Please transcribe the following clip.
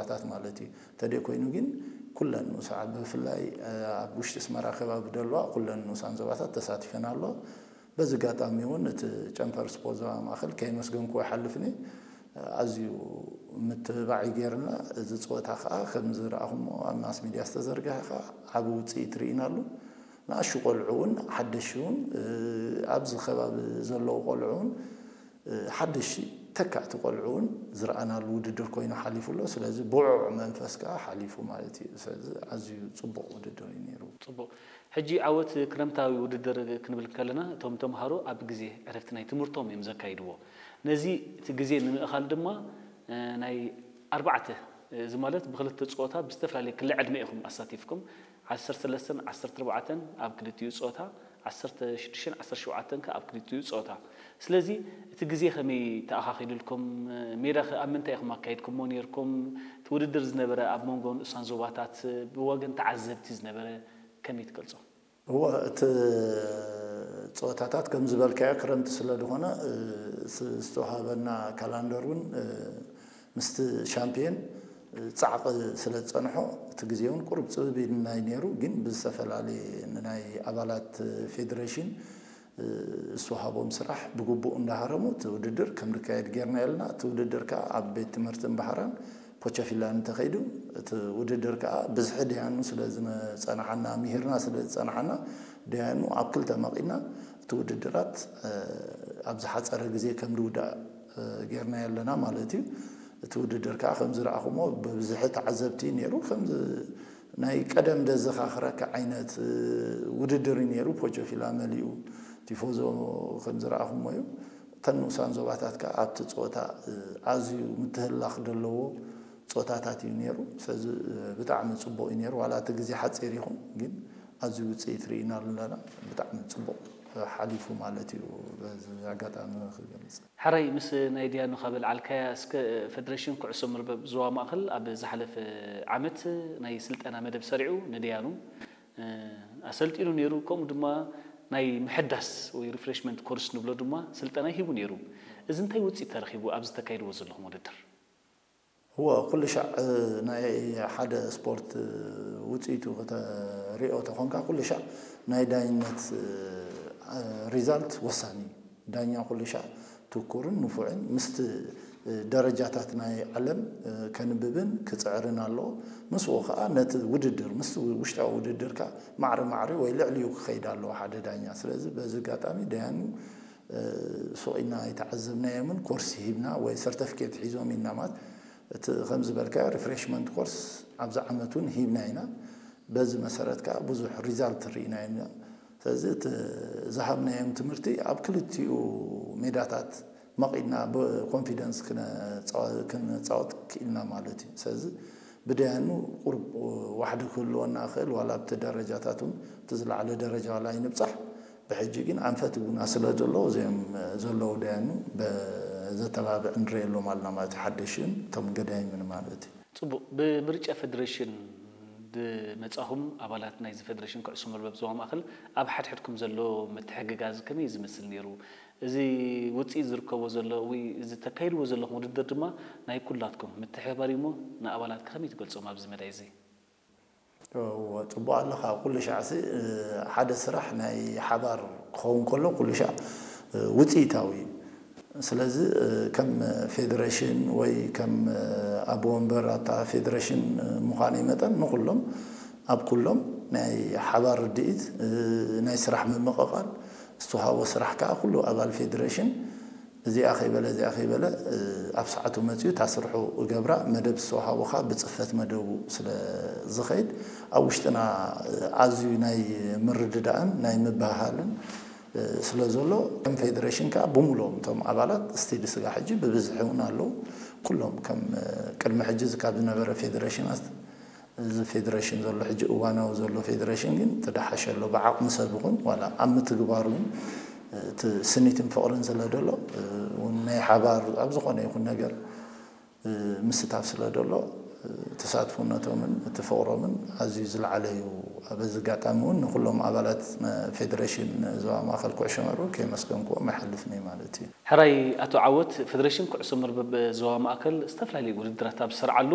ዞባታት ማለት እዩ። እንተደይ ኮይኑ ግን ኩለን ንኡሳ ብፍላይ ኣብ ውሽጢ ኣስመራ ከባቢ ዘለዋ ኩለን ንኡሳን ዞባታት ተሳቲፈን ኣለዋ። በዚ ኣጋጣሚ እውን እቲ ጨንፈር ስፖርት ዞባ ማእኸል ከየመስገንኩዎ ኣይሓልፍን እየ። ኣዝዩ ምትብባዕ እዩ ገይርና። እዚ ፀወታ ከዓ ከም ዝረኣኹሞ ኣብ ማስ ሚድያ ዝተዘርግሐ ከዓ ዓቢ ውፅኢት ርኢናሉ። ንኣሹ ቆልዑ እውን ሓደሽ እውን ኣብዚ ከባቢ ዘለዉ ቆልዑ እውን ሓደሽ ተካእቲ ቆልዑ እውን ዝረኣናሉ ውድድር ኮይኑ ሓሊፉ ኣሎ። ስለዚ ብዑዕ መንፈስ ከዓ ሓሊፉ ማለት እዩ። ስለዚ ኣዝዩ ፅቡቕ ውድድር እዩ ነይሩ። ፅቡቕ። ሕጂ ዓወት ክረምታዊ ውድድር ክንብል ከለና እቶም ተምሃሮ ኣብ ግዜ ዕረፍቲ ናይ ትምህርቶም እዮም ዘካይድዎ። ነዚ እቲ ግዜ ንምእኻል ድማ ናይ ኣርባዕተ፣ እዚ ማለት ብክልተ ፀወታ ብዝተፈላለየ ክሊ ዕድመ ኢኹም ኣሳቲፍኩም። ዓሰርተ ሰለስተን ዓሰርተ ኣርባዕተን ኣብ ክልቲኡ ፀወታ፣ ዓሰርተ ሽዱሽተን ዓሰርተ ሸውዓተን ከ ኣብ ክልቲኡ ፀወታ። ስለዚ እቲ ግዜ ከመይ ተኣኻኺሉልኩም? ሜዳ ከ ኣብ ምንታይ ኢኹም ኣካይድኩሞ ነይርኩም? እቲ ውድድር ዝነበረ ኣብ መንጎ ንኡሳን ዞባታት ብወገን ተዓዘብቲ ዝነበረ ከመይ ትገልጾ? እወ፣ እቲ ፀወታታት ከም ዝበልካዮ ክረምቲ ስለ ዝኾነ ዝተዋሃበና ካላንደር እውን ምስቲ ሻምፒዮን ፃዕቂ ስለ ዝፀንሖ እቲ ግዜ እውን ቁሩብ ፅብብ ኢልና እዩ ነይሩ። ግን ብዝተፈላለየ ንናይ ኣባላት ፌዴሬሽን ዝተዋሃቦም ስራሕ ብግቡእ እንዳሃረሙ እቲ ውድድር ከም ዝካየድ ጌርና የለና። እቲ ውድድር ከዓ ኣብ ቤት ትምህርቲ እምባሃራን ፖቸፊላን እንተኸይዱ፣ እቲ ውድድር ከዓ ብዝሒ ደያኑ ስለ ዝፀናሓና፣ ምሂርና ስለ ዝፀናሓና፣ ደያኑ ኣብ ክልተ መቒና እቲ ውድድራት ኣብ ዝሓፀረ ግዜ ከም ዝውዳእ ጌርና የለና ማለት እዩ። እቲ ውድድር ከዓ ከም ዝረኣኹሞ ብብዝሒ ተዓዘብቲ ነይሩ። ከም ናይ ቀደም ደዘኻኽረካ ዓይነት ውድድር እዩ ነይሩ። ፖቸፊላ መሊኡ ቲፎዞ ከም ዝረኣኹሞ እዩ። እተን ንኡሳን ዞባታት ከኣ ኣብቲ ጸወታ ኣዝዩ ምትህልላኽ ዘለዎ ጸወታታት እዩ ነይሩ። ስለዚ ብጣዕሚ ጽቡቕ እዩ ነይሩ። ዋላ እቲ ግዜ ሓጺር ይኹን ግን ኣዝዩ ውጽኢት ርኢናሉ ኣለና። ብጣዕሚ ጽቡቕ ሓሊፉ ማለት እዩ። በዚ ኣጋጣሚ ክገልጽ። ሕራይ ምስ ናይ ዲያኑ ካብ ኣልዓልካያ እስከ ፈደረሽን ኩዕሶ መርበብ ዞባ ማእከል ኣብ ዝሓለፈ ዓመት ናይ ስልጠና መደብ ሰሪዑ ንዲያኑ ኣሰልጢኑ ነይሩ። ከምኡ ድማ ናይ ምሕዳስ ወይ ሪፍሬሽመንት ኮርስ ንብሎ ድማ ስልጠና ሂቡ ነይሩ። እዚ እንታይ ውፅኢት ተረኺቡ ኣብዚ ተካይድዎ ዘለኹም ውድድር? እወ፣ ኩሉ ሻዕ ናይ ሓደ ስፖርት ውፅኢቱ ከተሪኦ ተኾንካ ኩሉ ሻዕ ናይ ዳይነት ሪዛልት ወሳኒ እዩ። ዳኛ ኩሉ ሻዕ ትኩርን ንፉዕን ምስቲ ደረጃታት ናይ ዓለም ከንብብን ክፅዕርን ኣለዎ። ምስኡ ከዓ ነቲ ውድድር ምስቲ ውሽጣዊ ውድድር ከዓ ማዕሪ ማዕሪ ወይ ልዕሊኡ ክኸይድ ኣለዎ ሓደ ዳኛ። ስለዚ በዚ ኣጋጣሚ ደያኑ ሱቕ ኢልና ኣይተዓዘብናዮምን ኮርስ ሂብና ወይ ሰርተፍኬት ሒዞም ኢልና ማለት እቲ ከም ዝበልካዮ ሪፍሬሽመንት ኮርስ ኣብዚ ዓመት እውን ሂብና ኢና። በዚ መሰረት ከዓ ብዙሕ ሪዛልት ርኢና ኢና። ስለዚ እቲ ዝሃብናዮም ትምህርቲ ኣብ ክልቲኡ ሜዳታት መቒድና ብኮንፊደንስ ክነፃወት ክኢልና ማለት እዩ። ስለዚ ብደያኑ ቁሩብ ዋሕዲ ክህልወና ይኽእል ዋላ ኣብቲ ደረጃታት እውን እቲ ዝለዓለ ደረጃ ዋላ ኣይንብፃሕ። ብሕጂ ግን ኣንፈት ቡና ስለ ዘሎ እዚኦም ዘለዉ ደያኑ ዘተባብዕ ንሪኤሎም ኣለና ማለት እዩ። ሓደሽን እቶም ገዳይምን ማለት እዩ። ፅቡቕ። ብምርጫ ፈደሬሽን ዝመፃኹም ኣባላት ናይዚ ፈደሬሽን ኩዕሶ መርበብ ዞባ ማእኸል ኣብ ሓድሕድኩም ዘሎ ምትሕግጋዝ ከመይ ዝመስል ነይሩ? እዚ ውፅኢት ዝርከቦ ዘሎ ወይ እዚ ተካይድዎ ዘለኹም ውድድር ድማ ናይ ኩላትኩም ምትሕብባር እዩ እሞ ንኣባላት ከመይ ትገልፆም ኣብዚ መዳይ እዚ? እወ፣ ፅቡቕ ኣለኻ። ኩሉ ሻዕሲ ሓደ ስራሕ ናይ ሓባር ክኸውን ከሎ ኩሉ ሻዕ ውፅኢታዊ እዩ። ስለዚ ከም ፌደሬሽን ወይ ከም ኣቦ ወንበር ኣብታ ፌደሬሽን ምዃነይ መጠን ንኩሎም ኣብ ኩሎም ናይ ሓባር ርድኢት ናይ ስራሕ ምምቕቓል ዝተዋሃቦ ስራሕ ከዓ ኩሉ ኣባል ፌደሬሽን እዚኣ ከይበለ እዚኣ ከይበለ ኣብ ሰዓቱ መፂኡ እታ ስርሑ እገብራ መደብ ዝተዋሃቦ ከዓ ብፅፈት መደቡ ስለ ዝኸይድ ኣብ ውሽጥና ኣዝዩ ናይ ምርድዳእን ናይ ምብህሃልን ስለ ዘሎ ከም ፌደሬሽን ከዓ ብምሉኦም እቶም ኣባላት ስቲል ስጋ ሕጂ ብብዝሒ እውን ኣለዉ። ኩሎም ከም ቅድሚ ሕጂ ካብ ዝነበረ ፌደሬሽናት እዚ ፌደሬሽን ዘሎ ሕጂ እዋናዊ ዘሎ ፌደሬሽን ግን ተደሓሸ ኣሎ። ብዓቕሚ ሰብ ይኹን ዋላ ኣብ ምትግባሩ እውን እቲ ስኒትን ፍቕርን ስለ ዘሎ እውን ናይ ሓባር ኣብ ዝኾነ ይኹን ነገር ምስታፍ ስለ ዘሎ ተሳትፎነቶምን እቲ ፍቕሮምን ኣዝዩ ዝለዓለ እዩ። በዚ ኣጋጣሚ እውን ንኩሎም ኣባላት ፌደሬሽን ዞባ ማእኸል ኩዕሾ መርበብ ከየመስገንኩዎም ኣይሓልፍን እየ ማለት እዩ። ሕራይ ኣቶ ዓወት፣ ፈደሬሽን ኩዕሶ መርበብ ዞባ ማእከል ዝተፈላለዩ ውድድራት ኣብ ዝሰርዓሉ